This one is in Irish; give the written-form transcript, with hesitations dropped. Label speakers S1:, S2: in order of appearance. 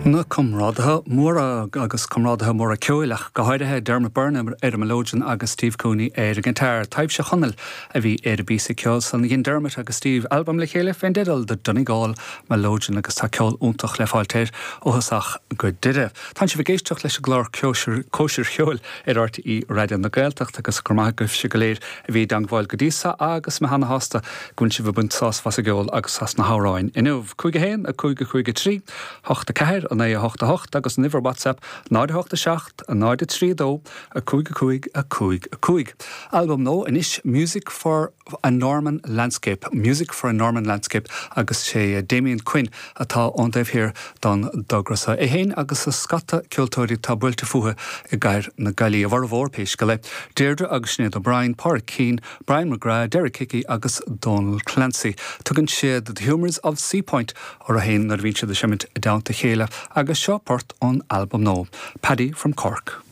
S1: Na comrádaithe móra agus comrádaithe móra ceoil ach go háirithe, Dermot Byrne ar an mileoidean agus Steve Cooney ar an ngiotár. Taibhse Chonaill a bhí ar an bpíosa ceoil san. Dhein Dermot agus Steve albam le chéile fén dteideal The Donegal Melodeon agus tá ceol iontach le fáilt air ó thosach go deireadh. Tánn sibh ag éisteacht leis an gclár Cóisir Cheoil ar RTÉ Raidió na Gaeltachta agus go raibh maith agaibhse go léir a bhí i dteangmháil go dtí so agus mé ana-shásta go bhfuil sibh ag baint sásamh as an gceol agus as na hamhráin inniu. 5 1 5 5 3 8 4 9 8 8 agus an uimhir WhatsApp 0 8 7 0 3 2 5 5 5 5. Albam nua anois Music for a Norman Landscape, Music for a Norman Landscape agus sé Damien Quinn atá ón taobh thiar don dtogra seo. É féin agus scata ceoltóirí atá buailte fúthu i gcathair na Gaillimhe, a bhformhór, pé scéal é, Deirdre agus Sinéad O'Brien, Pádraic Keane, Brian McGrath, Derek Hickey agus Donal Clancy. Tugann siad The Humours of Seapoint orthu féin nuair a bhíonn siad ag seimint i dteannta a chéile agus seo port ón albam nua, Paddy from Cork.